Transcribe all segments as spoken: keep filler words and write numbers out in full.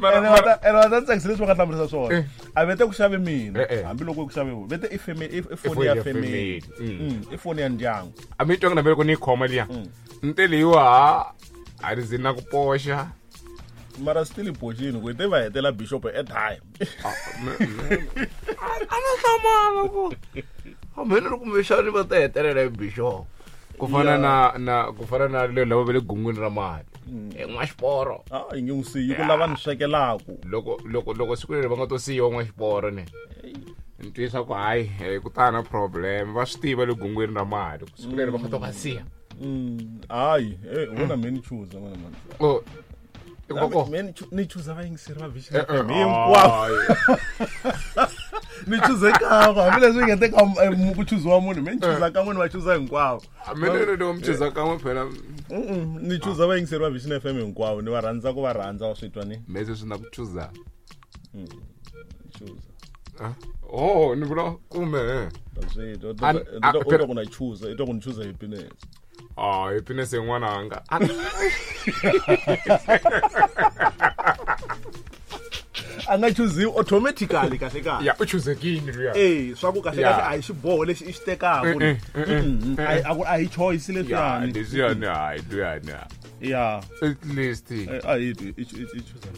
Mara- Ene wa ta- ene wa ta tsakisa leswi va nga hlamurisa swona Eh. a vete ku xave mina Eh, eh. hambiloko ku xave vona vete i family i I foni foni ya ya family family. Mm. Mm, i foni ya ndyangu a mi twangi na loko ni yi khoma liya ni te leyiwa ha a ni zi na ku poxa mara still i boxini ku i te va hetela bishop airtime a na hlamala ku hambi ni ri kumbexani va ta hetelela hi bishop ku fana na na ku fana na le lava va le gungwini ra mali e n'waxiporo a yi nge n'wi siyi ku lava ni swekelaku loko loko loko siku leri va nga to siyiwa n'waxiporo ne ni twisa ku hayi eh, ku ta na problem va swi tiva le gungwini ra mali ku siku leri va nga to va siya Mm, hayi eh, wena me ni chuza n'wana mani o i ku va ko Me ni chu- ni chuza vayingiseri va Vision Eh, eh, F M hinkwavo hayi. ni chuze kan'we hambileswi nge te ka eh, mu- ku chuziwa munhu me ni chuza kan'we ni va chuza hinkwavo A mina ni loko mi chuza kan'we phela Mm-mm, ni chuza vayingiseri va Vision F M hinkwavo ni va rhandza ku va rhandza wa swi twa ni me sweswi na ku chuza chuza Ah, oh ni vula kume eh. Ta swi twa. An- U a- twa- u twa ku na chuza i twa ku ni chuza happiness ah happiness yin'wananga a nga chuziwi automatically kahle kahle ya u chuzekini luya Eh, swa ku kahle Ya. kahle a hi xiboho lexi i xi tekaku Eh, eh, eh, Mm, a hi- a ku- a hi choice ya leswiyani leswiyani hayi luyani ya at least Eh, a hi twi i chu- i chuza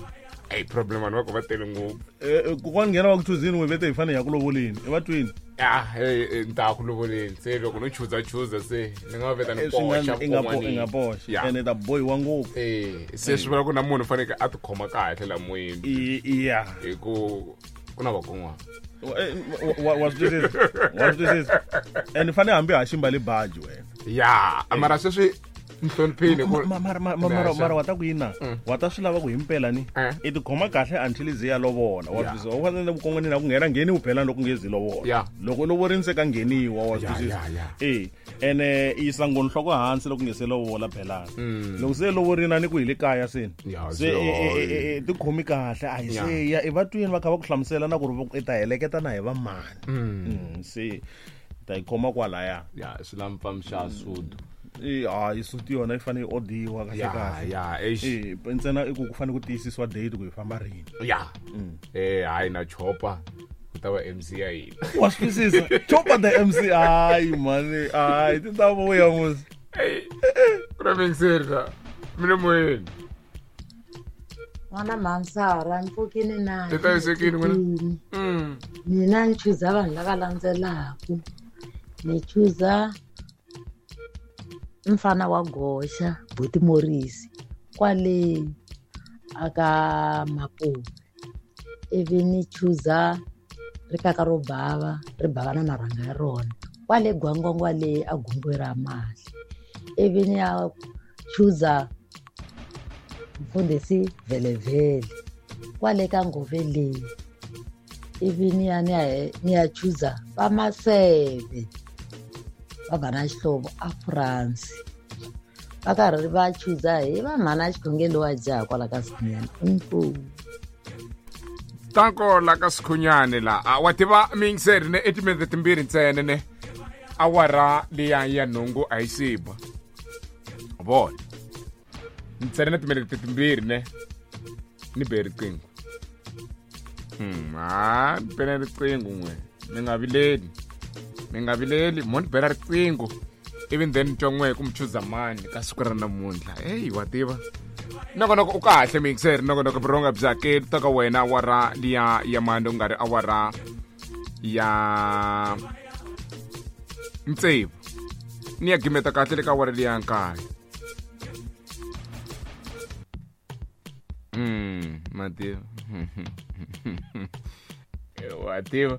hey problem vanhu va ku va tele ngopfu Eh, eh, kokwana nghena va ku chuzini n'we vete hi fanele hi ya ku lovoleni i va twini ah hey eh, ni ta ya ku lovoleni se loko no chuza chuza se ni nga veta ni Eh, swi nga- poxa i nga po- i vukon'wanini. nga poxa Ya. ene ta bohiwa ngopfu eh se swi vula ku na munhu fanekele a tikhoma kahle la moyeni I- i- ya hi ku ku na vakon'wana Eh, wa- wa swi twisisa wa swi twisisa ene fanele hambi ha ximba le baji wena ya mara sweswi ni hloniphile ku Ma- mara ma- ma- mara mara wa ta ku yini na wa ta swi lava ku himpela ni Eh. i tikhoma kahle until i ze ya lovola wa Ya. twisisa u fanele vukon'wanini a ku nghena ngheniwi phela loko nge zi lovola Ya. loko u lovorini se ka ngheniwa wa swi Ya, twisisa ya, ya. e ene i yisa ngoni nhloko hansi loko nge se lovola phelana loko se lovorini a ni ku hi le kaya seni Mm. Ya, se se e- e- hayi. e- e- tikhomi kahle a hi Ya. se ya i va twini va kha va ku hlamusela na ku ri i ta heleketa na hi va mani Mm, se ta yi khoma kwalaya ya swi la mpfamxa sudu I- hayi suti yona yi fanele yi odiwa kahle ya kahle ya eish Eh, ntsena i ku ku fanele ku tiyisisiwa date ku hi famba rini ya eh hayi na chopa ku ta va M C ya hina wa swi twisisa chopa the M C hayi mani hayi ti ta vuya musi Ey, ku na mingiseri la mi le moyeni N'wana mhansara ni pfukini na Ti hlayisekile n'wina? Mm. mina ni chuza vanhu lava landzelaku ni chuza mfana wa goxa buti morisi kwale aka mapume ivi ni chuza rikaka ro bava ri bava na marhanga ya rona kwale gwangwangwa le a gungwe ra mali ivi ni ya chuza mfundhisi vhelevhele kwale ka ngove leyi ivi ni ya ni ya ni ya chuza va maseve va ba na xihlovo a France va karhi va chuza hi va mhana xikhongelo wa jaha kwala ka Sikhunyana inkomu tanko la ka Sikhunyani la a wa tiva mingiseri ne i timinete timbirhi ntsena ne awara liya ya nhungu a yi siba vona ntsena na timinete timbirhi ne ni be riqingho Hmm, ha ni bela riqingho n'we mi nga vileli mi nga vileli mo ni bela riqingho ivi then ni twa n'we ku mi chuza mani ka siku ra namuntlha heyi wa tiva nongonoko u kahle mixer nongonoko buronga bya keli ta ka wena awara liya ya mani u nga ri awara ya ntsevu ni ya gimeta kahle le ka awara liya nkaye mm mativa wa tiva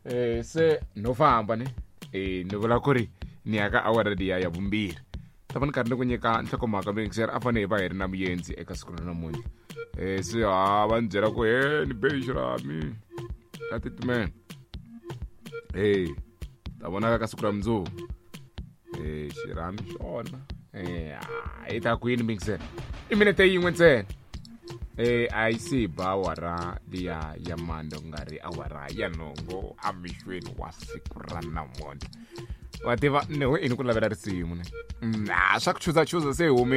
eh se no famba ne eh ni vula ku ri ni ya ka awara liya ya vumbirhi ta va ni karhi ni ku nyika nhlokomhaka mixer a fanele hi va hi ri na muyenzi eka siku ra namuntlha um se ha va ni byela ku he ni be xirhami ka titimela e ta vonaka ka siku ra mundzuku e xirhami xona e i ta kwini mixer i minete yin'we ntsena e a yi se ba awara liya ya mande ku nga ri awara ya nhungu emixweni wa siku ra namuntlha wa tiva ni ho ini ku lavela risimu ne Mm, ah, swa ku chuza chuza se hi humile.